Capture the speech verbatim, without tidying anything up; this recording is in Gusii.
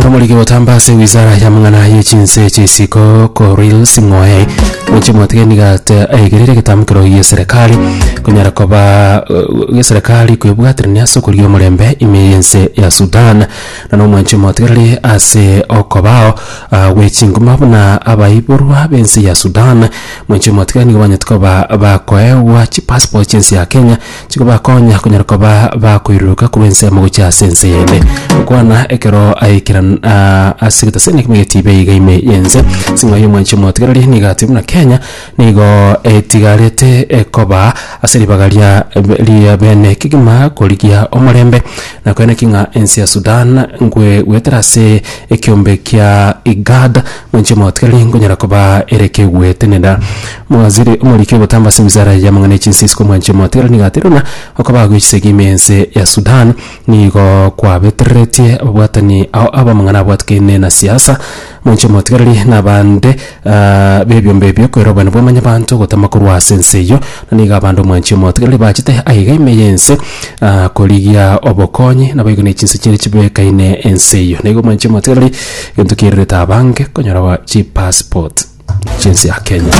Naboigoro omoriki gotamba ase wizara ya mang'ana ye chinse chisiko Korir Sing'oei mwanche motigereri nigo ate aigerire egetamokero gie serikali konyara koba eh, eserikali kwebwaterania ase okorigia omorembe ime y'ense ya Sudan. Na nomwanche motigereri ase okobao ah, gwe chinguma buna abaiborwa b'ense ya Sudan, mwanche motigereri, nigo banyete koba bakoegwa chipassport chi'ense ya Kenya chikobakonya konyara koba bakoiruruka korwa ensemo gochia ase ense yende. Gokwana ekero aikera ah, ase egetaseni ekemo getibe iga ime y'ense, Sing'oei omwanche motigereri nigo ati buna Kenya nigo etigarete ekoba ase ribaga ria ria bene kegima korigia omorembe na koeneki ng'a ense ya Sudan nkwe gwetera ase ekiombe kia IGAD, mwanche motigereri, nkonyara koba ere kegwetenena. Mwaziri omoriki ogotamba ase wizara ya mang'ana echinse isiko, mwanche motigereri, nigo atire buna okoba gwechisegi ime ense ya Sudan nigo kwabetereretie ababwatani ao abamang'ana abwatekaine na siasa, mwanche motigereri, na abande ah, b'ebiombe ebio koira obwene bwamanya banto gotama korwa ase ense eyio. Na nigo abande, omwanche motigereri, bachete aiga ime y'ense ah, korigia obokonyi naboigo na echinse chire chibekaine ense eyio. Nigo, omwanche motigereri, egento kiererete abange konyora chipassport chinse ya Kenya.